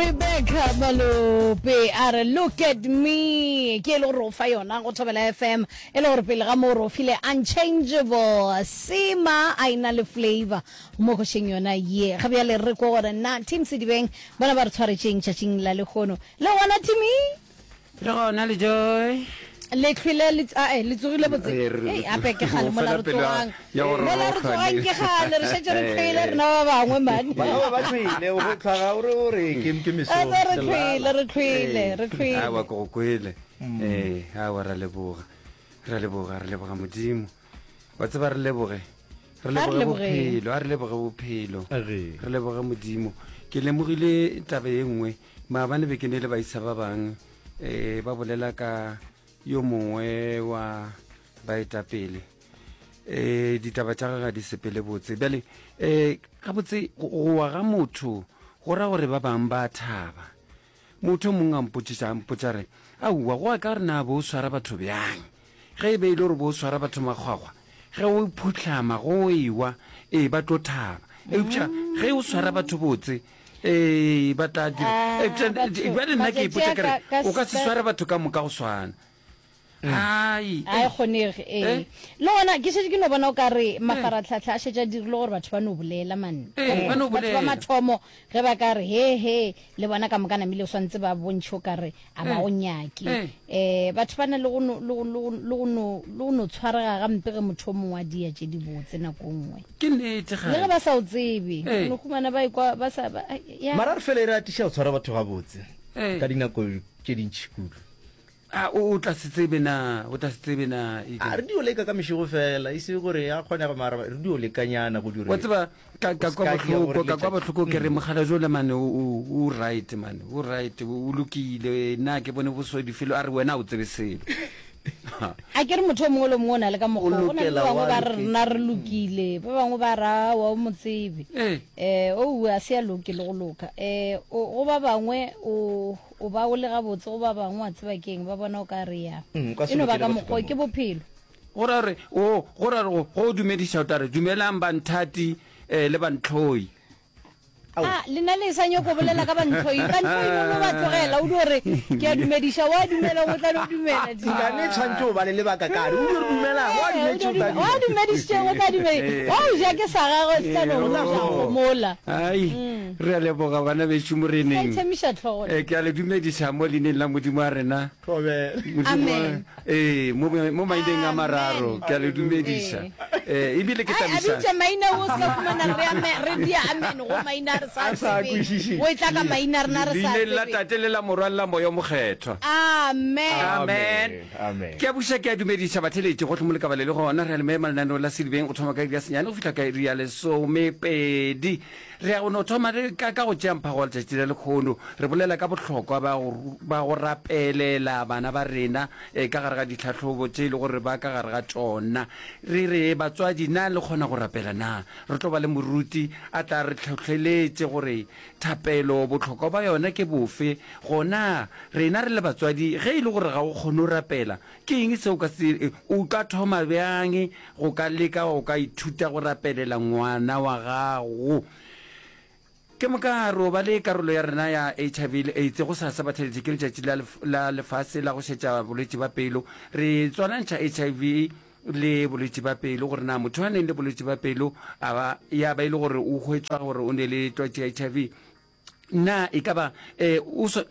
Rebecca Malope a re look at me ke e le gore o fa yona go Thobela FM e le gore pele ga moo re o file unchangeable sema a ena le flavor mo košeng yona ye ga bjale re ko gore na team Sedibeng bona ba re tshwaretšeng tšatšing la lehono le gona team Re gona le Joy. Le hlwele le ae le tsogile botse. Ei ape ke kgale mola re tsogang. Mola re tsogang ke kgale re šetše re hlwele rena ba bangwe man. Ba ba ba hlwele go hlwa o re o re ke ke meso. Re hlwele re hlwele re hlwele. Awa ke go kwele. Eh awa ra leboga. Ra leboga re leboga Modimo. Wa tseba re leboge. Re leboge bophelo, a re leboge bophelo. Re leboge Modimo. Ke lemogile taba ye nngwe Maabane be ke ne le baisa ba bang eh, ba bolela ka yo mongwe wa baetapele eh, ditaba tša gagwe ga di sepele botse. Bjale eh, gabotse go wa ga motho go ra gore ba bang ba thaba. Motho mongwe a mpotšiša a mpotša re, aowa go ya ka gore na bo o swara batho bjang. Ge e be e le gore bo o swara batho makgwakgwa, ge o phuhlama go ewa, ee ba tlo thaba. Eupša ge o swara batho botse, Ee, ba tla dira. Ah, Eupša batho- bjale nna ke matšatši ipotša a ke re, ka- ka- o ka se ka- sware batho ka moka go swana. Ai, a e kgonege ee Eh? le gona ke šetše ke no bona o ka re mafaratlhatlha a šetše a dirile gore batho ba no bolela man Ee, ba no batho ba bolela. mathomo ge ba ka re he he le bona ka moka namile o swantse ba bontšhe o ka re a ba go nyake um batho ba na le go no- le go- le go- le go no- le go no tshwarega gampe ge motho o mongwe a dia tše dibotse nako nngwe ke nnete le ge ba sa o tsebe Ee. o no humana ba ikwa ba sa ba- ai, ya. Mara re fele re atiša go tshwara batho gabotse Ee. ka dinako tše dintši kudu. A o o tla se tsebe na? O tla se tsebe na? A re dio leka ka mešego fela, e se gore ya kgonega mara re dio lekanyana go dire. Wa tseba ka ka kwa bohloko, ka kwa bohloko ke re mogala jole mane o o right mane, o right, o lokile. Nna ke bone bosodi felo a re wena o tsebe selo. A ke re motho o mongwe le mongwe o na le ka mokgwa. Go na le ba bangwe ba re rena re lokile, ba bangwe ba re aowa o mo tsebe. Eh o a se a loke le go loka. Eh go ba bangwe o O ba o le gabotse go ba bangwe, wa tseba ke'ng, ba bona o ka re ya. Mm, o ka se E no ba lokele ka batho mokgwa ka ke moka. bophelo. Go ra gore, o, go ra gore go o dumediša o tla re, Dumelang banthati eh, le bantlhoi. Ao. A lena le sa nyoko bolela ka bantlhoi? Bantlhoi no no ba tlogela, o dio re ke a dumediša, wa dumela o tla no dumela. Nkane tshwantše o ba le lebaka kare o dio re dumelang, wa Eh, o dumetše dio o tla dume- wa dumela. dumedišitšeng o tla dumela. Wa o ja ke sa gagwe se tla no Eh, go ja oh. gomola. Ai, re a leboga bana bešo moreneng. Sa itshemiša hlogo. Eh, ke a le dumediša mo leineng la Modimo wa rena. Thobela. Modimo, Amen. ee, mo, mo maineng a mararo, ke a le dumediša. Eh, ebile ke Ai, a thabiša. bitša maina o se ka fumana re ame re dia amen go maina a re sa A sa tsebeng. kwešišeng. O e tla ka maina a rena re sa Leineng la tsebeng. Tate le la Morwa le la Moya o Mokgethwa. Amen. Amen. Amen. Ke a buša ke a dumediša batheletši gohle mo le ka ba le le gona. Re a le mema lenaneo la Sedibeng go thoma ka iri ya senyane go fihla ka iri ya lesomepedi. Re ya go no thoma re ka, ka go tšea mphago wa letšatši la lekhono. Re bolela ka bohlokwa ba go, ba go rapelela bana ba rena e, ka gare ga ditlhahlobo tše e le gore ba ka gare ga tšona. Re re, batswadi, na le kgona go rapela na? Re tlo ba le moruti a tla re hlohleletše gore thapelo bohlokwa ba yona ke bofe. Gona rena re le batswadi, ge e le gore ga o kgone go rapela, Ke eng se o ka se, o ka thoma bjang go ka leka go ka ithuta go rapelela ngwana wa gago? Ke moka re o ba le karolo ya rena ya HIV le AIDS. Gosasa batheeletši ke letšatši la, la lefase la go šetša bolwetši ba pelo. Re tswalantšha HIV le bolwetši ba pelo gore na motho a neng le bolwetši ba pelo a ba ya ba e le gore o hwetšwa gore o ne le twatši ya HIV Na e ka ba eh, o swa,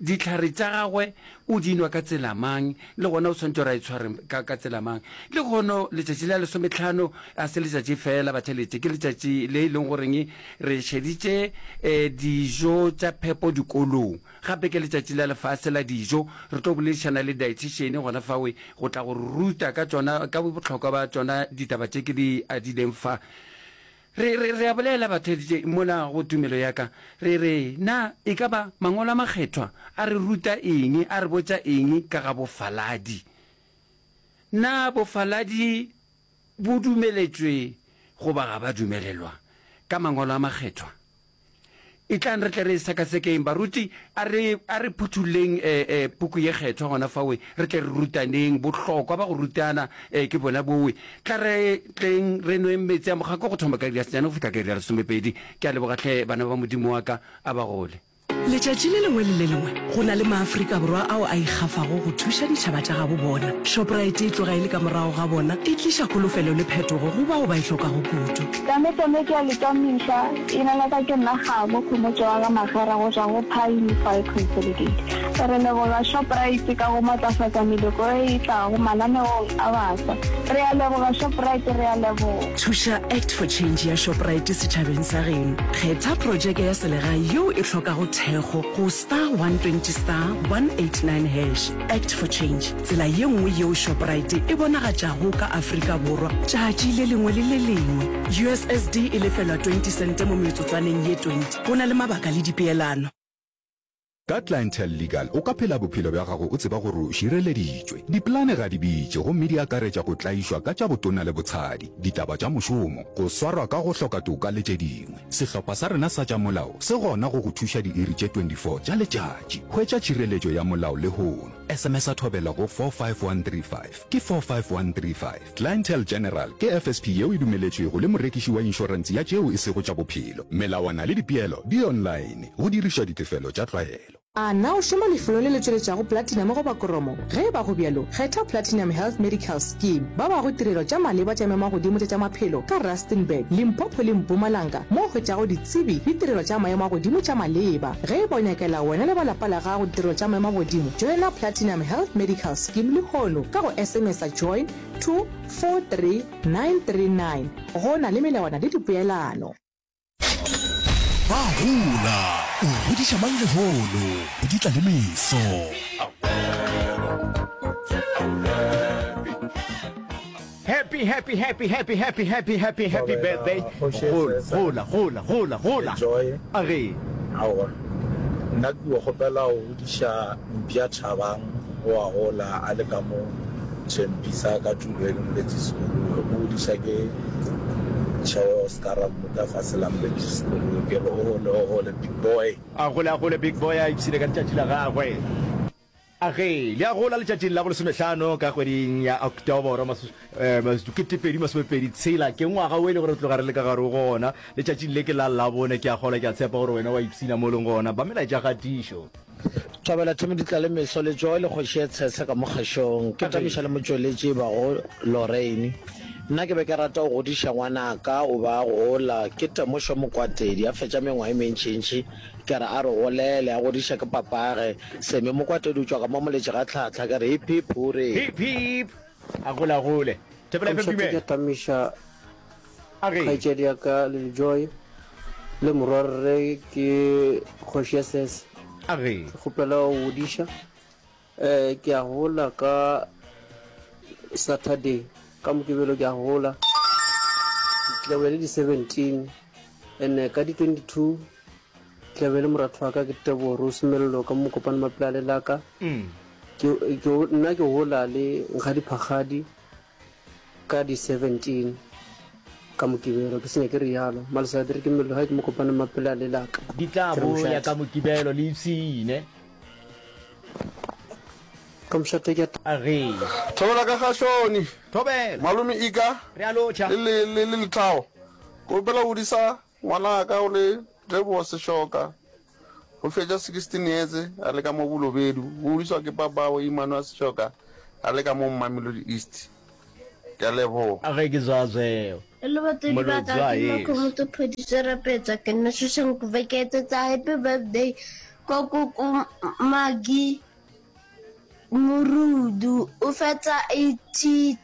dihlare tša gagwe o di nwa ka tsela mang, le gona o swanetše gore a itshware ka, ka tsela mang? Le kgono letšatši la lesometlhano a se letšatši fela batheletše, ke letšatši le e leng goreng re šeditše eh, dijo tša phepo dikolong. Gape ke letšatši la lefase la dijo. Re tlo boledišana le dietitian gona fawe go tla go re ruta ka tšona, ka bohlokwa ba tšona ditaba tše ke di adileng fa. Re, re, re a bolela, batheeditše, mola go tumelo ya ka. Re re, Na e ka ba Mangwalo a Makgethwa a re ruta eng, a re botša eng ka ga bofaladi? Na bofaladi bo dumeletšwe goba ga ba dumelelwa ka Mangwalo a Makgethwa? Etlang re tle re e sekasekeng. Baruti, a re, a re phuthulleng e, e, Puku ye Kgethwa gona fawe, re tle re rutaneng. Bohlokwa ba go rutana e, ke bona bowe. Tla re tleng re nweng meetse a mokgako go thoma ka iri ya senyane go fihla ka iri ya lesomepedi. Ke a leboga hle, bana ba Modimo wa ka, a ba gole. Letšatši le lengwe le le lengwe go na le maAfrika Borwa ao a ikgafago go thuša ditšhaba tša gabo bona. Shoprite e tloga e le ka morago ga bona, e tliša kholofelo le phetogo go bao ba e hlokago kudu. Tame tame ke a le tamiša, ina la ka ke nna Kgabo Khomotšo wa ga Magera go tšwa go Pine Fire Consolidate. Re leboga Shoprite ka go matlafatša meloko e e tlago mananeong a baswa. Re a leboga Shoprite, re a leboga. Thuša Act for Change ya Shoprite setšhabeng sa geno. Kgetha projeke ya selegae yeo e hlokago thekgo go star 120 star 189 hash. Act for Change, tsela ye nngwe yeo Shoprite e bonagatšago ka Afrika Borwa tšatši le lengwe le le lengwe. USSD e lefelwa 20 sente mo metsotswaneng ye 20. Go na le mabaka le dipeelano. Ka Clientele Legal o ka phela bophelo bja gago o tseba gore o šireleditšwe. Dipolane ga di bitše gomme di akaretša go tlaišwa ka tša botona le botshadi, ditaba tša mošomo, go swarwa ka go hloka toka le tše dingwe. Sehlopha sa rena sa tša molao se gona go go thuša diiri tše 24 tša letšatši. Hwetša tšhireletšo ya molao lehono. SMS-a Thobela go 45135. Ke 45135. Clientele General ke FSP yeo e dumeletšwego le morekiši wa inšorense ya tšeo e sego tša bophelo. Melawana le dipeelo di online, go dirišwa ditefelo tša tlwaelo. A na o šoma lefelong le le tšweletšago platinum goba kromo? Ge e ba go bjalo, kgetha Platinum Health Medical Scheme. Ba bago tirelo tša maleba tša maemo-a-godimo tša tša maphelo ka Rustenburg, Limpopo le Mpumalanga mo o hwetšago ditsebi le tirelo tša maemo a godimo tša maleba. Ge e ba o nyakela wena le ba lapa la gago ditirelo tša maemo a godimo, joina Platinum Health Medical Scheme lehono ka go SMS-a join to 43939. Go na le melawana le dipoelano. Ba gola, o godiša mang lehono, go di tla le meso. Happy happy happy happy happy happy happy happy birthday gola gola gola gola gola a re aowa nna ke go kgopela go godiša mpša Thabang o a gola a le ka mo Tshempisa ka tulo e le Moletši Sekolowe o godiša ke Tšheo Oscar Mmuta fase la Moletši Sekolowe ke re o gole o gole big boy. A gole a gole big boy a ipshine ka letšatši la gagwe. A ge le a gola letšatšing la bolesomehlano ka kgweding ya Oktoboro 2026, ke ngwaga wo e le gore re tloga re le ka gare go ona. Letšatšing le ke la Labone, ke a kgolwa, ke a tshepa gore wena wa ipshina mo o leng gona. Ba melaetša kgatišo. Thobela Thome Ditlalemeso le Joy le kgoši ye tshese ka mo kgašong. Ke tamiša le motšweletši e bago Lorraine. Nna ke be ke rata go godiša ngwanaka o ba a gola. Ke Temošo Mokwatedi a fetša mengwaga e mentšintši Ke re a re golele, a godiša ke papage. Seme Mokwatedi o tšwa ka mo Moletši ga Tlhahla. Ke re hip hip huree. Hip hip a gola gole. Thapela FM Mošate dumela. ke tamiša A ge. kgaetšedi ya ka Lil Joy le morwarre ke kgoši ya Sese. A ge. Ke kgopela go godiša. Eh ke a gola ka Saturday ka Mokibelo ke a gola. Ke tla be le di 17 and ka di 22 Tla be le moratho wa ka ke Tebogo Rose Mello ka mo Mokopane Mapilale la ka. Ke, ke, nna ke gola le Nkgadi Phakgadi ka di 17 ka Mokibelo. Ke senya ke rialo. Malesadiri ke Mello gae ke Mokopane Mapilale la ka. Di tla Ke re boya mošate. ka Mokibelo le ipshine. Ka mošate ke a. Agee. Thobela ka Gahloni. Thobela. Malome Ika. Re a lotšha. Le, le, le, le Lethabo. Ke opela go disa Ngwanaka o le Tebogo Seshoka o fetša 16 years a le ka mo Bolobedu, o godiswa ke papawe Emmanuel Seshoka a le ka mo Mamelodi East. Ke a leboga. A ge ke zwazweo. Hello batswadi ba ka, Molotswa ke nna yes. Khomotso Phodiso Rapetsa, ke nna Soshanguve ke etsetsa happy birthday ko koko Maggie Morudu o fetsa 82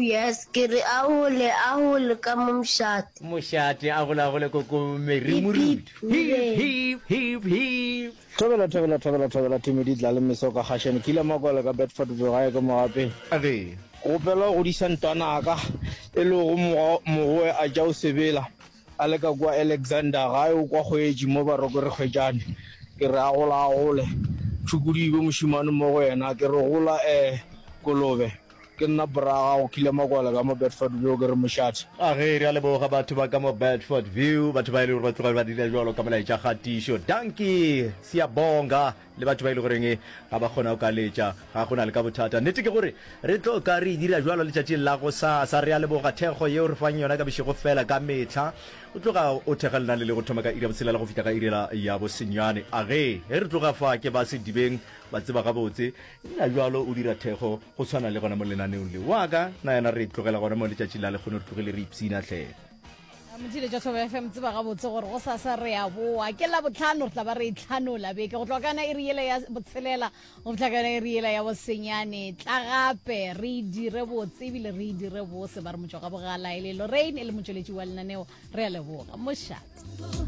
years ke re a hole a hole ka mo mošate. Mošate a gole a gole koko Mary Hip Morudu. hip Hip hooray. hip hip hip. Thobela thobela thobela thobela Tumi di tla le meso ka Gashane ke ile Makwala ka Bedford View gae ke Mogapeng. Ge. Gopela go godiša ntwanaka e lego mogoe a tša o sebela A le ka kua Alexander, gae o kwa kgwetši mo Baroko re kgwetšane. Ke re a gola a gole. Tšhukudu e be mošemane mo go yena. Ke re gola eh kolobe. Ke nna bra gago Kile Makwala ka mo Bedford View ke re mošate. A ge, re a leboga batho ba ka mo Bedford View, batho ba e le gore ba tloga ba dira jwalo ka molaetša kgatišo. Dankie, siyabonga, le batho ba e le goreng ga ba kgona go ka letša, ga go na le ka bothata. Nnete ke gore re tlo ka re e dira jwalo letšatšing la gosasa. Re a leboga thekgo yeo re fang yona ka bošego fela ka mehla. O tloga o thekga lenane le go thoma ka iri ya botshelela go fihla ka iri ya bosenyane. A ge, ge re tloga fa ke ba sedibeng ba tseba gabotse. Nna bjalo o dira thekgo go tshwana le gona mo lenaneong le. Wa ka, na yena re tlogela gona mo letšatši la lekgono re tlogile re ipshina hle. Motšhile tša Thobela FM tseba gabotse gore go sasa re a boa. Ke Labohlano re tla ba re e hlanola beke go tloga ka yona iri yela ya botshelela go fihla ka yona iri yela ya bosenyane. Tla gape re e dire botse ebile re e dire bose ba re motšwa ga bogala e le Lorraine e le motšweletši wa lenaneo. Re a leboga. Mošate.